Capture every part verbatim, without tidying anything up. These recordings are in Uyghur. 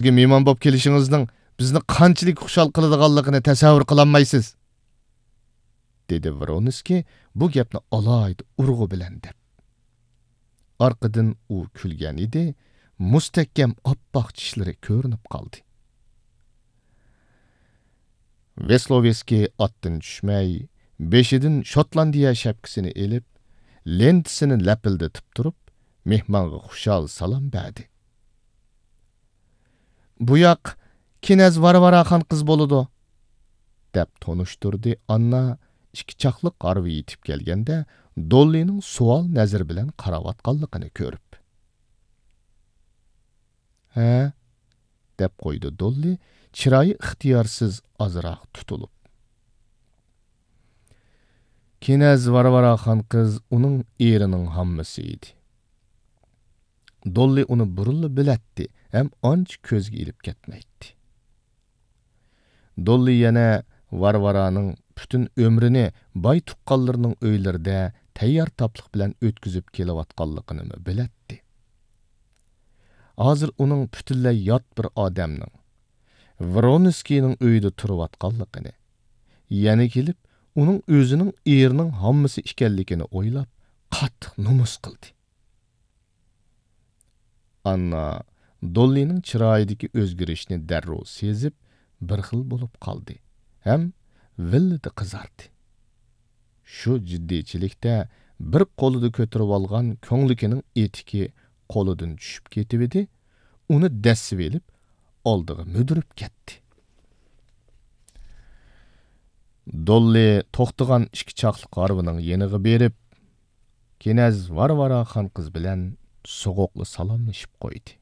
بىزگە مېھمان بولۇپ كېلىشىڭىزنىڭ بىزنى قانچىلىك خۇشال قىلىدىغانلىقىنى تەسەۋۋۇر قىلالمايسىز، دېدى ۋرونسكىي بۇ گەپنى ئالاھىدە ئۇرغۇ بىلەن دەپ. ئارقىدىن ئۇ كۈلگەن ئىدى، مۇستەھكەم ئاپئاق چىشلىرى كۆرۈنۈپ قالدى. ۋېسلوۋېسكىي ئاتتىن چۈشمەي، بېشىدىن شوتلاندىيە شەپكىسىنى ئېلىپ، لېنتىسىنى لەپىلدىتىپ تۇرۇپ، مېھمانغا خۇشال سالام بەردى. «بۇ ياق كىنەز ۋارۋارا خان قىز بولىدۇ»، دەپ تونۇشتۇردى ئاننا ئىككى چاقلىق ھارۋا يېتىپ كەلگەندە، دوللىنىڭ سوئال نەزىرى بىلەن قاراۋاتقانلىقىنى كۆرۈپ. «ھە؟» دەپ قويدى دوللى، چىرايى ئىختىيارسىز ئازراق تۇتۇلۇپ. كىنەز ۋارۋارا خان قىز ئۇنىڭ ئېرىنىڭ ھاممىسى ئىدى. دوللى ئۇنى بۇرۇنلا بىلەتتى ھەم ئانچە كۆزگە ئېلىپ كەتمەيتتى. دوللى يەنە ۋارۋارانىڭ پۈتۈن ئۆمرىنى باي تۇغقانلىرىنىڭ ئۆيلىرىدە تەييار تاپلىق بىلەن ئۆتكۈزۈپ كېلىۋاتقانلىقىنىمۇ بىلەتتى. ھازىر ئۇنىڭ پۈتۈنلەي يات بىر ئادەمنىڭ، ۋرونسكىينىڭ ئۆيىدە تۇرۇۋاتقانلىقىنى، يەنە كېلىپ ئۇنىڭ ئۆزىنىڭ ئېرىنىڭ ھاممىسى ئىكەنلىكىنى ئويلاپ، قاتتىق نومۇس قىلدى. ئاننا دوللىنىڭ چىرايىدىكى ئۆزگىرىشنى دەررۇ سېزىپ، بىر خىل بولۇپ قالدى ھەم ۋىللىدە قىزاردى. شۇ جىددىيچىلىكتە بىر قولىدا كۆتۈرۈۋالغان كۆڭلىكىنىڭ ئېتىكى قولىدىن چۈشۈپ كېتىۋىدى، ئۇنى دەسسىۋېلىپ، ئالدىغا مۈدۈرۈپ كەتتى. دوللى توختىغان ئىككى چاقلىق ھارۋىنىڭ يېنىغا بېرىپ، كىنەز ۋارۋارا خان قىز بىلەن سوغۇقلا سالاملىشىپ قويدى.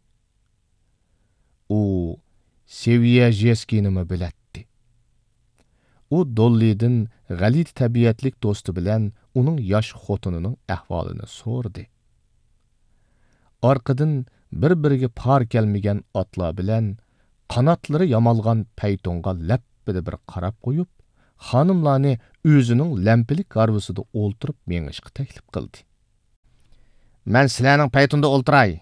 ئۇ سېۋيەژېسكىنىمۇ بىلەتتى. ئۇ دوللىدىن غەلىتە تەبىئەتلىك دوستى بىلەن ئۇنىڭ ياش خوتۇنىنىڭ ئەھۋالىنى سورىدى. ئارقىدىن بىر-بىرىگە پار كەلمىگەن ئاتلار بىلەن قاناتلىرى يامالغان پەيتۇنغا لەپپىدە بىر قاراپ قويۇپ، خانىملارنى ئۆزىنىڭ لەمپىلىك ھارۋىسىدا ئولتۇرۇپ مېڭىشقا تەكلىپ قىلدى. «مەن سىلەرنىڭ پەيتۇندا ئولتۇراي»،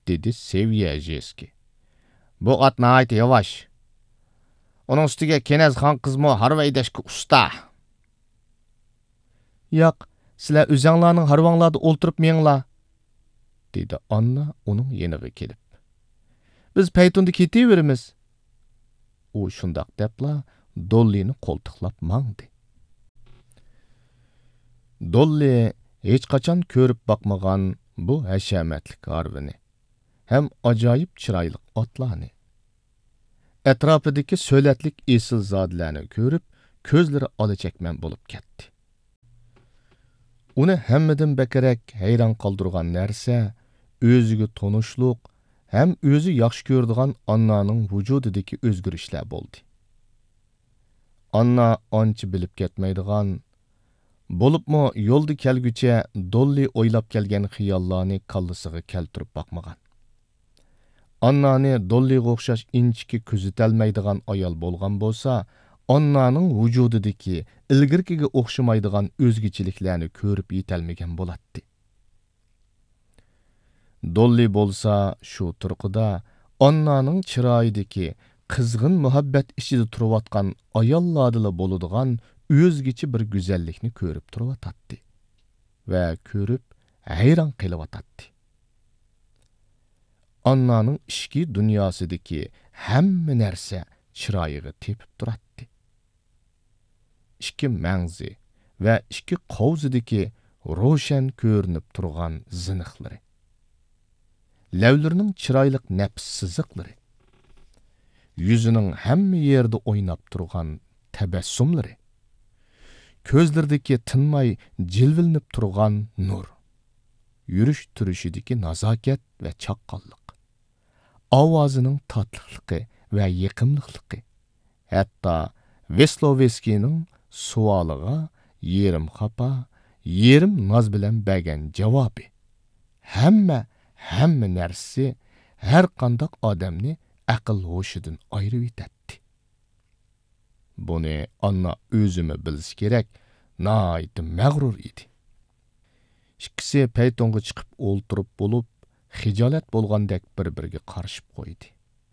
دېدى سېۋيەژېسكى. «بۇ ئات ناھايىتى ياۋاش. ئۇنىڭ ئۈستىگە كېنەز خان قىزمۇ ھارۋا ھەيدەشكە ئۇستا.» «ياق، سىلەر ئۆزەڭلارنىڭ ھارۋاڭلاردا ئولتۇرۇپ مېڭىڭلار»، دېدى ئاننا ئۇنىڭ يېنىغا كېلىپ. «بىز پەيتۇندا كېتىۋېرىمىز.» ئۇ شۇنداق دەپلا دوللىنى قولتۇقلاپ ماڭدى. دوللى ھېچقاچان كۆرۈپ باقمىغان بۇ ھەشەمەتلىك ھارۋىنى ھەم ئاجايىپ چىرايلىق ئاتلارنى، ئەتراپىدىكى سۆلەتلىك ئېسىلزادىلەرنى كۆرۈپ، كۆزلىرى ئالا چەكمەن بولۇپ كەتتى. ئۇنى ھەممىدىن بەكرەك ھەيران قالدۇرغان نەرسە ئۆزىگە تونۇشلۇق ھەم ئۆزى ياخشى كۆرىدىغان ئاننانىڭ ۋۇجۇدىدىكى ئۆزگىرىشلەر بولدى. ئاننا ئانچە بىلىپ كەتمەيدىغان، بولۇپمۇ يولدا كەلگۈچە دوللى ئويلاپ كەلگەن خىياللارنى كاللىسىغا كەلتۈرۈپ باقمىغان. ئاننانى دوللىغا ئوخشاش ئىنچىكە كۆزىتەلمەيدىغان ئايال بولغان بولسا، ئاننانىڭ ۋۇجۇدىدىكى ئىلگىرىكىگە ئوخشىمايدىغان ئۆزگىچىلىكلەرنى كۆرۈپ يېتەلمىگەن بولاتتى. دوللى بولسا شۇ تۇرقىدا ئاننانىڭ چىرايىدىكى قىزغىن مۇھەببەت ئىچىدە تۇرۇۋاتقان ئاياللاردىلا بولىدىغان ئۆزگىچە بىر گۈزەللىكنى كۆرۈپ تۇرۇۋاتاتتى ۋە كۆرۈپ ھەيران قېلىۋاتاتتى. ئاننانىڭ ئىچكى دۇنياسىدىكى ھەممە نەرسە چىرايىغا تېپىپ تۇراتتى. ئىككى مەڭزى ۋە ئىككى قوۋزىدىكى روشەن كۆرۈنۈپ تۇرغان زىنىخلىرى، لەۋلىرىنىڭ چىرايلىق نەپىس سىزىقلىرى، يۈزىنىڭ ھەممە يېرىدە ئويناپ تۇرغان تەبەسسۇملىرى، كۆزلىرىدىكى تىنماي جىلۋىلىنىپ تۇرغان نۇر، يۈرۈش تۇرۇشىدىكى نازاكەت ۋە چاققانلىق، ئاۋازىنىڭ تاتلىقلىقى ۋە يېقىملىقلىقى، ھەتتا ۋېسلوۋېسكىينىڭ سوئالىغا يېرىم خاپا، يېرىم ناز بىلەن بەرگەن جاۋابى، ھەممە، ھەممە نەرسىسى ھەرقانداق ئادەمنى ئەقىل ھوشىدىن ئايرىۋېتەتتى. بۇنى ئاننا ئۆزىمۇ بىلسە كېرەك، ناھايىتى مەغرۇر ئىدى. ئىككىسى پەيتۇنغا چىقىپ ئولتۇرۇپ بولۇپ، خىجالەت بولغاندەك بىر-بىرىگە قارىشىپ قويدى.